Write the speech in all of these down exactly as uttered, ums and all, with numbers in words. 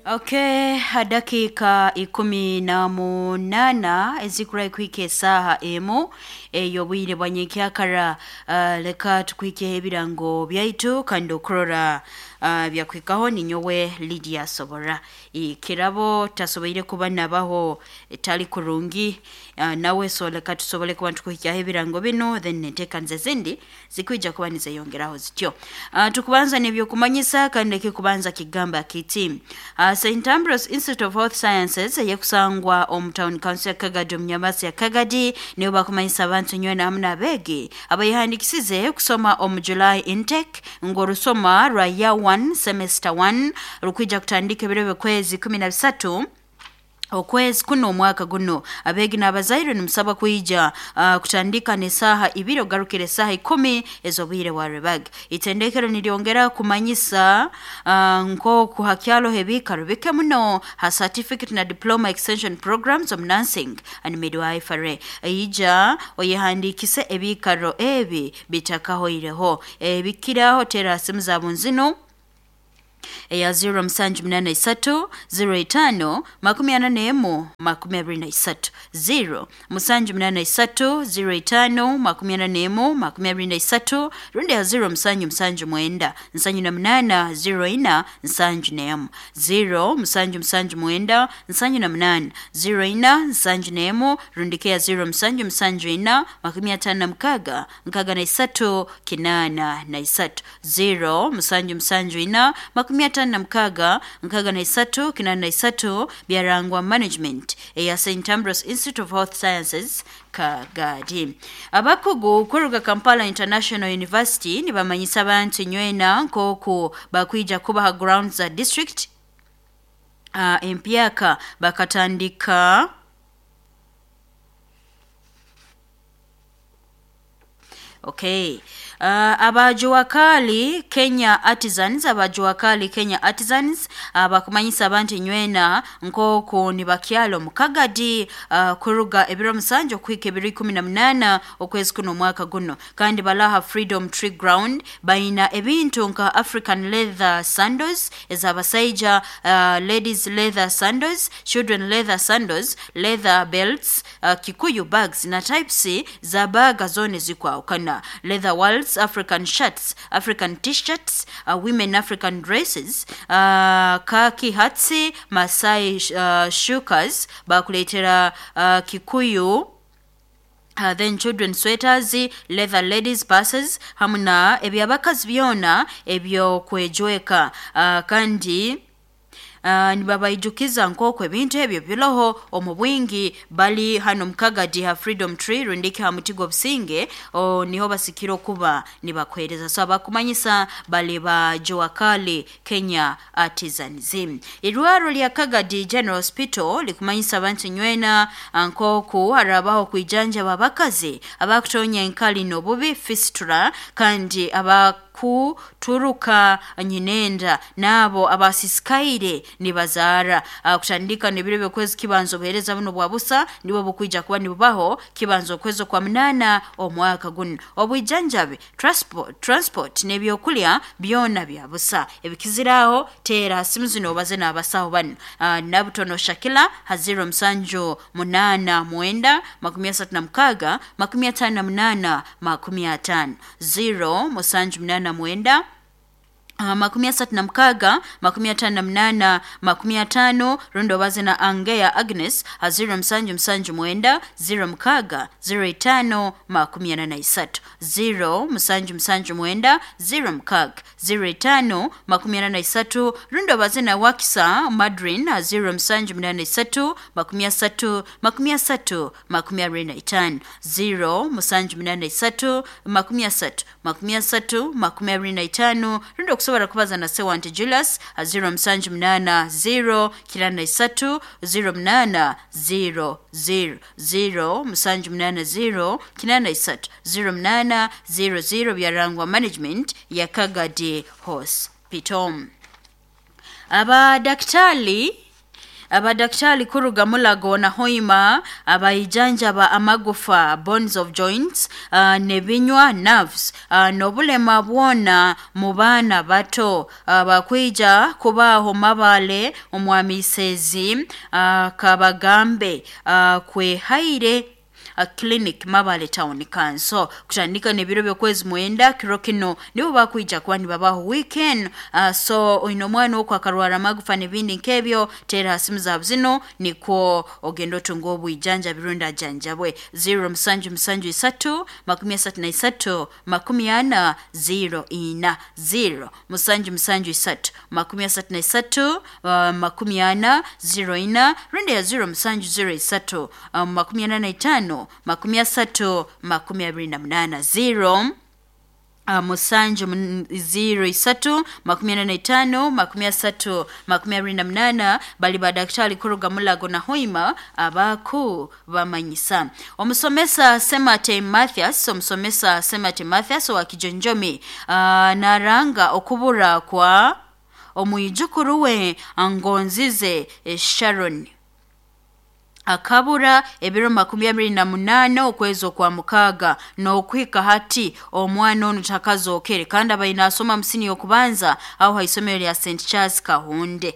Okay, dakika ikumi na munana ezikura kuhika esaha emu ey'obwire bwa nyenkyakara. uh, leka tukwikeho ebirango byaitu kandi okurora uh, byakuhikaho. Ninyowe Lydia Sobora. Ikirabo tasoboire kuba nabaho etali kurungi, uh, nawe so leka tusobole kuba tukuhikyaho ebirango binu, then enteekaniza ezindi zikwija kuba nizeyongeraho zityo. uh, tukubanza n'ebyokumanyisa, kandi ekikubanza kigamba kiti: uh, Saint Ambrose Institute of Health Sciences eyekusangwa omu town council ya Kagadi, omu nyamasi ya Kagadi, nibo bakumanyisa abantu nywena hamu n'abeegi abayehandikisize kusoma omu July intake ngu orusoma rwa year one semester one rukwija kutandika ebiro by'okwezi kumi na bisatu okwezi kuno omwaka guno. Abeegi n'abazaire nimusaba kwija uh, kutandika n'esaaha ibiri ogarukira esaaha ikumi ez'obwire bwa rwebaga. Itendekero niryongera kumanyisa uh, nk'oku hakyaloho ebiikaro bike muno ha certificate na diploma extension programs omu nursing and midwifery. Ija oyehandikise ebiikaro ebi bitakahoireho. Ebikiraho tera simu zaabo nzino eya zero musanju munana isatu zero itano makumi ana n'emu makumi abiri na isatu, zero musanju munana isatu zero itano makumi ana n'emu makumi abiri na isatu, rundi ya zero musanju musanju mwenda nsanju na munana zero ina nsanju n'emu, zero musanju musanju mwenda nsanju na munana zero ina nsanju n'emu, rundi ke ya zero musanju musanju ina makumi atano na mukaga nkaga na isatu kinana na isatu, zero musanju musanju ina makumi atano na mukaga nkaga na isatu kinana na isatu. Byarangwa management eya Saint Ambrose Institute of Health Sciences Kagadi. Abakugu kuruga Kampala International University nibamanyisa abantu nywena nkoku bakwija kubaha grounds za district uh, empyaka bakatandika. Okay. Uh, abajuwakali Kenya Artisans abajuwakali Kenya Artisans abakumanyisa uh, abantu nywena nkoku nibakyalo mukagadi uh, kuruga ebiro musanju okuhika ebiro ikumi na munana okwezi kuno omwaka guno, kandi balaha Freedom Tree Ground. Baina ebintu nka African leather sandals ez'abasaija, uh, ladies leather sandals, children leather sandals, leather belts, uh, Kikuyu bags na types za baga zone zikwawukana, leather wallets, African shirts, African t-shirts, uh, women African dresses, uh, khaki hats, Masai uh, shukas, bakuletera uh, Kikuyu. Uh, then children sweaters, leather ladies purses, hamu na ebyabakazi byona ebyokwejweka. uh, kandi Uh, nibabaijukiza nk'oku ebintu ebyo biroho omu bwingi. Bali hano mukagadi ha Freedom Tree rundiki ha muti gw'obusinge, niho basikire okuba nibakwereza. So abakumanyisa bali ba Juakali Kenya Artisans. Irwaro lya Kagadi General Hospital likumanyisa abantu nywena nk'oku harabaho kwijanjaba abakazi abakutonya enkali n'obubi fistula, kandi aba kuturuka nyinenda nabo abasisikaire nibazaara. uh, kutandika n'ebiro by'okwezi kibanza obuheereza buno bwa busa nibwo bukwija kuba nibubaho kibanza okwezi kwa munana omwaka guno. Obwijanjabi, transport, transport n'ebyokulya byona bya busa. Ebikiziraho teera simu zino obaze n'abasaho bano: uh, Nabutono Shakila ha zero musanju munana mwenda makumi asatu na mukaga makumi atano na munana makumi atano, zero musanju munana mwenda Uh, makumi asatu na mukaga makumi atano na munana makumi atano, rundi obaze na Angeya Agnes ha zero musanju musanju mwenda zero mukaga zero itano makumi ana na isatu, zero musanju musanju mwenda zero mukaga zero itano makumi ana na isatu, rundi obaze na Wakisa Madrin ha zero musanju munana isatu makumi asatu makumi asatu makumi abiri na itano, zero musanju munana isatu makumi asatu makumi asatu makumi abiri na itano, rundi okusobola kubaza na Sewante Julius ha zero musanju munana zero kinana na isatu zero munana zero zero, zero musanju munana zero kinana na isatu zero munana zero zero. Byarangwa management ya Kagadi Hospital. Abadaktari Abadaktari kuruga Mulago na Hoima abaijanjaba amagufa bones of joints uh, nebinywa nerves uh, nobulema bwona mu baana bato uh, bakwija kubaho Mabale omwamisezi uh, kabagambe uh, kwehaire a clinic Mabale Town Council kutandika nebiro byokwezi mwenda kiro kino nibo bakwija kuba nibabaho weekend. uh, so oino omwana okwo akarwara amagufa n'ebindi nk'ebyo, teera ha simu zaabwe zino nikwo ogenda otunga obwijanja birungi ajanjabwe zero musanju musanju isatu makumi asatu na isatu makumi ana zero ina zero musanju musanju isatu makumi asatu na isatu uh, makumi ana zero ina rundi ya zero musanju zero isatu um, makumi ana na itano makumi asatu makumi abiri na munana zero Uh, musanju zero isatu makumi ana na itano makumi asatu makumi abiri na munana bali badaktari kuruga Mulago na Hoima abaku bamanyisa. Omusomesa Semate Mathias omusomesa Semate Mathias wa Kijonjomi uh, naranga okubura kwa omwijukuru we Ngonzize Sharon akabura ebiro makumi abiri na munana okwezi okwa mukaaga n'okuhika hati omwana onu takazookere kandi abaine asoma musini y'okubanza aho haisomero lya Saint Charles Kahunde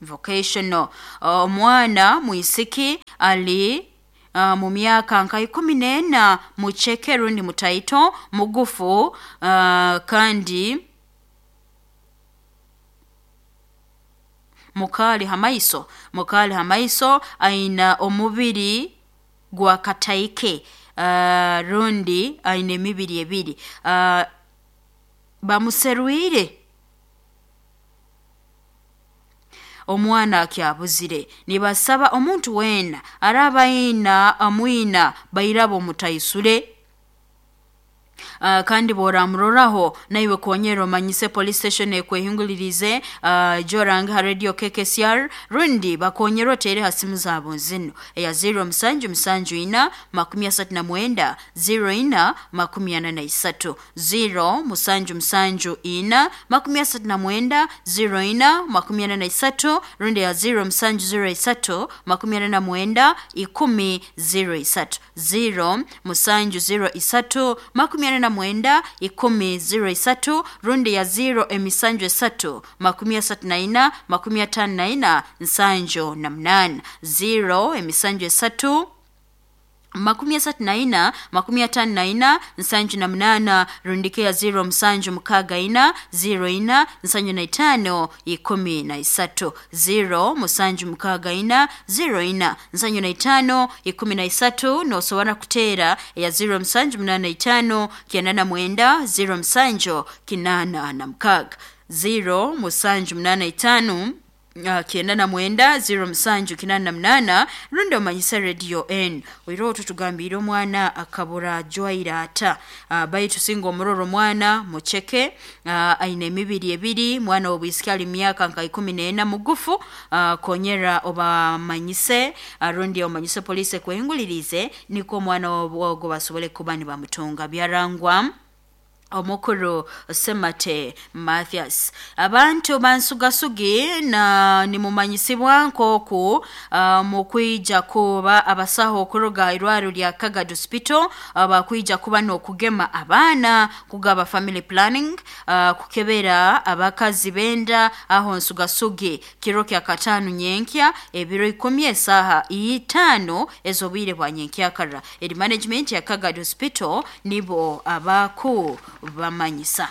vocational. Omwana mwisiki ali uh, mu myaka nka ikumi n'ena mucheke rundi mutaito mugufu uh, kandi mukali hamaiso mukali hamaiso aina omubiri gwa kataike uh, rundi aina emibiri ebiri uh, bamuserwire omwana akyabuzire. Nibasaba omuntu wena araba aina amwina bairabo mutaisule Uh, kandi boramuroraho naiwe konyera omanyise police station ekwehingulirize uh, joranga ha radio K K C R rundi bakonyera otere ha simu zaabo zino eya zero musanju musanju ina makumi asatu na mwenda zero ina makumi ana na isatu zero musanju musanju ina makumi asatu na mwenda zero ina makumi ana na isatu rundi ya zero musanju zero isatu makumi ana na mwenda ikumi zero isatu zero musanju zero isatu makumi ana na mwenda ikumi zero isatu rundi ya zero emisanju esatu makumi asatu na ina makumi atano na ina nsanju na munana zero emisanju esatu makumi asatu na ina makumi atano na ina nsanju na munana rundike ya zero musanju mukaga ina zero ina nsanju na itano ikumi na isatu zero musanju mukaga ina zero ina nsanju na itano ikumi na isatu nosobora kuteera ya zero musanju munana itano kyenda na mwenda zero musanju kinana na mukaga zero musanju munana itano Uh, kyenda na mwenda zero musanju kinana na munana rundi omanyisa radio N oiro otutugambire omwana akabura jwaira ata uh, baitu singa omuroro omwana mucheke uh, aine emibiri ebiri mwana obwisiki ali myaka nka ikumi n'ena mugufu uh, konyera obamanyise uh, rundi omanyise police ekwehingulirize niko omwana ogo basobole kuba nibamutunga. Byarangwa omukuru Semate Mathias. Abantu bansugasugi na nimumanyisibwa nkoku uh, mukwija kuba abasaho okuruga irwaro lya Kagad Hospital uh, bakwija kuba n'okugema abaana kugaba family planning uh, kukebera abakazi benda aho nsugasugi kiro kya katano nyenkya ebiro ikumi esaha itano ezobwire bwa nyenkyakara. Eri management ya Kagad Hospital nibo abaku bamanyisa.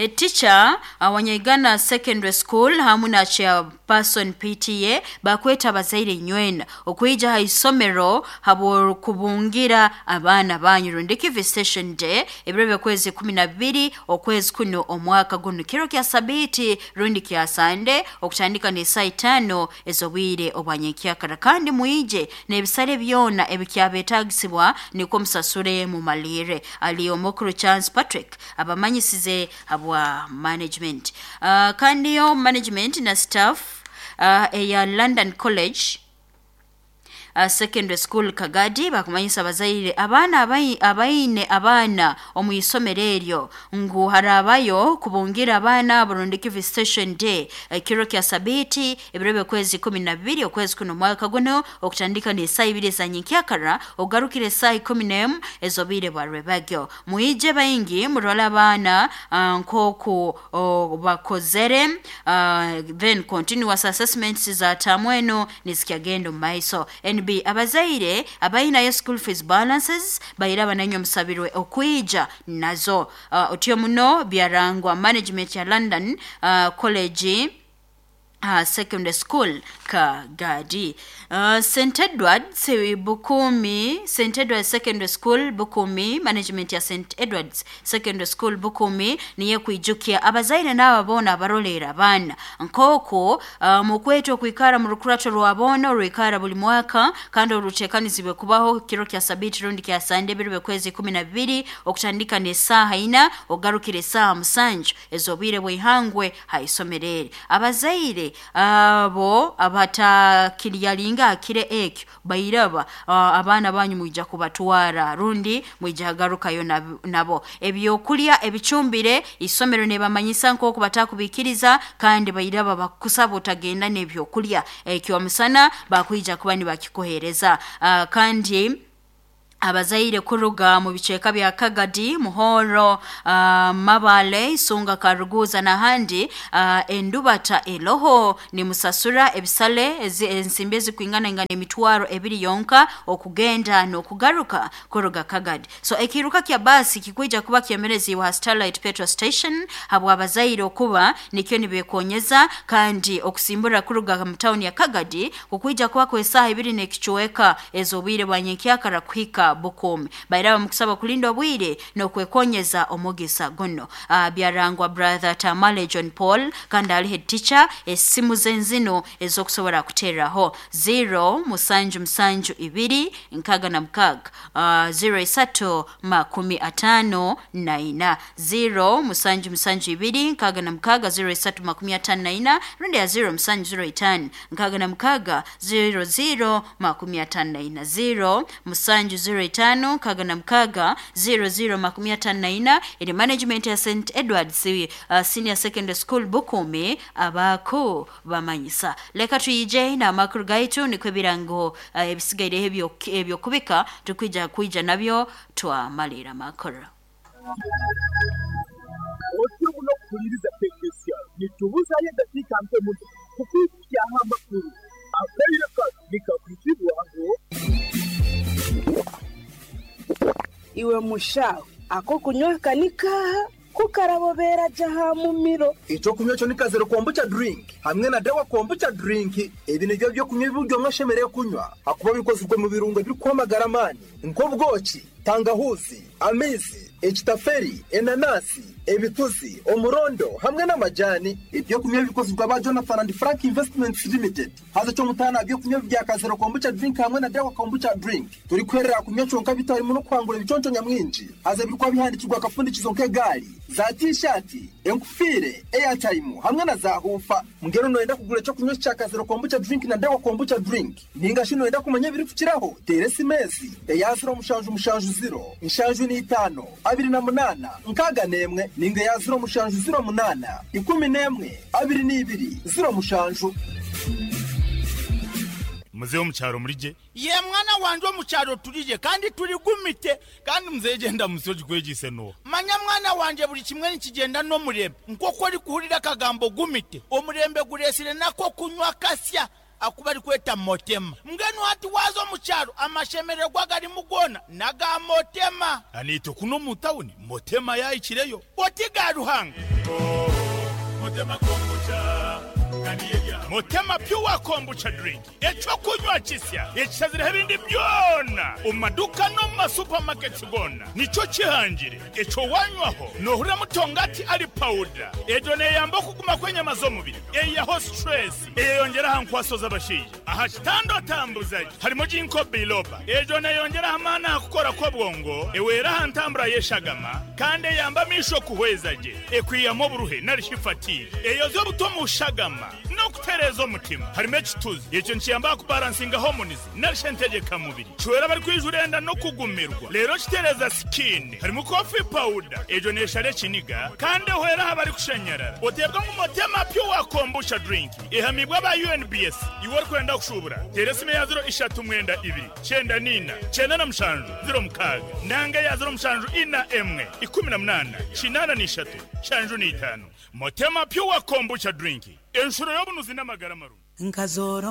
A teacher uh, Wanyaigana Secondary School hamu na chairperson P T A bakweta abazaire nywena okwija ha isomero habo kubungira abaana banyu rundiki visitation day ebiro byokwezi kumi na bibiri okwezi kuno omwaka guno kiro kya sabiti rundi kya Sunday okutandika ne saa itano ezobwire obwanyenkyakara kandi muije n'ebisale byona ebikyabetagisibwa niko musasure mu malire. Ali omukuru Chance Patrick abamanyisize abo wa management. Uh, kandi yo management na staff uh, eya London College uh, Secondary School Kagadi bakumanyisa abazaire abaana abaine abaana omu isomero eryo ngu harabayo kubungira abaana burundiki visitation day ekiro kya sabiti ebiro kwezi kumi na bibiri okwezi kuno mwaka guno okutandika ni saa ibiri za nyenkyakara ogarukire saa ikumi n'emu ezobire bwa rwebagyo. Muije baingi murola abaana uh, nkoku uh, bakozere uh, then continuous assessments za tamweno nizikyagenda mu maiso. N B abazaire abainayo school fees balances bayira bananyo musabirwe okwija nazo. Uh, otyo muno byarangwa management ya London uh, College Uh, Secondary School Kagadi. Uh, Saint Edwards Bukumi, Saint Edwards Secondary School Bukumi, management ya Saint Edwards Secondary School Bukumi niye kuijukia abazaire n'ababona abarolera abaana nkoko uh, mukweto kuikara mu rukurato rwabona ruikara buli mwaka kandi orutekanizibwe kubaho kiro kya sabiti rundi kya sande birwe kwezi kumi na bibiri okutandika ne saha ina ogarukire saha musanju ezobire bwihangwe haisomerere. Abazaire abo abatakiriyalinga akire ekyo bairaba uh, abaana banyu mwija kubatwara rundi mwija garukayo nabo. Ebyokulya ebicumbire isomero ne bamanyisa nko batakubikiriza kandi bairaba bakusaba utagenda n'ebyokulya ekyo musana bakwija kuba nibakikohereza. Uh, kandi abazaire kuruga mu biceka bya Kagadi, Muhoro, uh, Mabale, Isunga, Karuguza na handi uh, endubata eloho ni musasura ebisale ensimbi kwingana ingana emitwaro ebiri yonka okugenda n'okugaruka kuruga Kagadi. So ekiruka kya basi kikwija kuba kyemerezi wa Starlight Petrol Station habwa abazaire okuba nikyo nibekonyeza kandi okusimbura kuruga mu town ya Kagadi kukwija kuba kwesaha ibiri n'ekichweka ezobwire bwa nyenkyakara kuhika Bukumi. Bairaba mukusaba kulinda obwire n'okwekonyeza omugisa guno. Uh, byarangwa brother Tamale John Paul kandi ali head teacher. Esimu zenzino ezokusobora kuteraho zero musanju musanju ibiri nkaga na mukaga uh, zero isatu makumi atano na ina zero musanju musanju ibiri nkaga na mukaga zero isatu makumi atano na ina rundi ya zero musanju zero itano nkaga na mukaga zero zero makumi atano na ina zero musanju zero itano kaga na mkaga zero zero makumi atano na ina. Ili management ya Saint Edwards uh, Senior Secondary School Bukumi abako bamanyisa. Leka tuyije na makuru gaitu nikwe birango uh, ebisigaire ebyo ebyo kubika tukwija kuija nabyo twamalira makuru. Otyo muno kuliriza pekesya nitubuza ye dakika mpe muno kukukia amakuru akaire nikakujibwa ngo iwe mushawe ako kunywa kanika kukarabobera jaha mumiro. Ico kunywa cyo nikazero kombucha drink hamwe na dawa kombucha drink. Ebi nivyo byo kunywa ibyo mwashemereye kunywa akuba bikozwe mu birungo biri kwamagara mani nko bwoki, tangahuzi, amizi, ekitaferi, enanasi, ebituzi, omurondo hamwe n'amajani. Ibyo kunywa bikozwe ba Jonathan and Frank Investments Limited. Haza cyo mutana byo kunywa bya kazero kombucha drink hamwe na dawa kombucha drink. Turi kwerera kunywa cyonka bitari mu no kwangura ibiconco nyamwinji. Haza birikwa bihandikirwa akafundikizo nk'egali, za t-shirt, enkufire, airtime hamwe na za hufa. Mngero noenda kugura cyo kunywa cya kazero kombucha drink na dawa kombucha drink. Ninga shino enda kumenya biri kukiraho. Teresi mezi, eyaziro mushanju mushanju zero, inshanju ni itano, abiri na munana, nkaga nemwe, ninga ya zero mushanju zero munana, ikumi nemwe, abiri n'ibiri, zero mushanju. Mzee omukyaro mulije ye mwana wanje omukyaro tulije kandi tuligumite kandi mzee genda musoji kwegise no manya mwana wanje buli kimwe nikigenda n'omurembe nk'oku ori kuhurira akagambo gumite omurembe guresire nako kunywa kasya akuba ari kweta motema mbwenu hati waza omukyaro amashemererwa garimu gona naga motema anito kuno mu tawuni motema yayikireyo oti ga Ruhanga oh, motema kombucha Motema pure kombucha drink echo kunywa kisya ekisazira ebindi byona omaduka no ma supermarkets gona nico kihangire echo wanywaho nohura mutongati ali powder ejo neyamba kuguma kwenyama z'omubiri eyaho stress eyongera hankwaso z'abashije aha kitando tambuzaji harimo jinko biloba ejo neyongera hamana kukora kwa bwongo ewera hantambura yeshagama kandi yamba misho kuhwezaje ekwiyamo buruhe narishifati eyo zo butomushagama N'okutereeza omutima. Harimu ekituzi ekyo nikiyamba kubalansinga hormones narisha entegeka mubiri, kiwera bari kwijura enda n'okugumirwa. Rero kitereeza skin. Harimu coffee powder, egyo neshara ekiniga kandi ehwera aha bari kushanyarara. Oteebwa ngu Motema Pure Kombucha Drink ehamibwa aba U N B S. Iwe orikwenda kushubura, teera esimu ya ziro ishatu mwenda ibiri kyenda nina kyenda na mushanju ziro mukaaga nanga ya ziro mushanju ina emwe ikumi na munana kinana n'ishatu shanju n'itano. Motema Pure Kombucha Drink, enshuro y'obunuzi n'amagara marungi. Nkazoro.